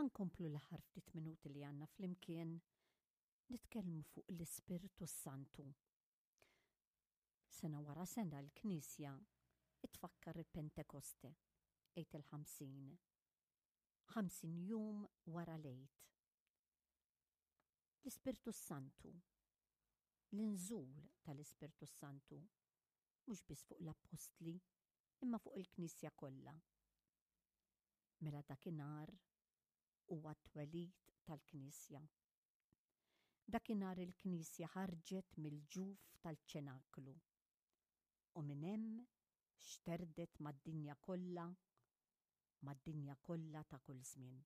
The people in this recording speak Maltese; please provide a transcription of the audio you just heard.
Ħa nkomplu l-aħħar ftit minuti li għandna flimkien nitkellmu fuq l-Ispirtu s-Santu. Sena wara sena l-Knisja tfakkar il-Pentekoste, Għid il-50. 50 jum wara l-Għid. L-Ispirtu s-Santu, l-inżul tal-Ispirtu s-Santu, mhux biss fuq l-Appostli, imma fuq il-Knisja kollha. Mela dakinhar huwa t-twelid tal-Knisja. Dakinhar il-Knisja ħarġet mill-ġuf tal-ċenaklu u minn hemm xterdet mad-dinja kollha, mad-dinja kollha ta' kull żmien.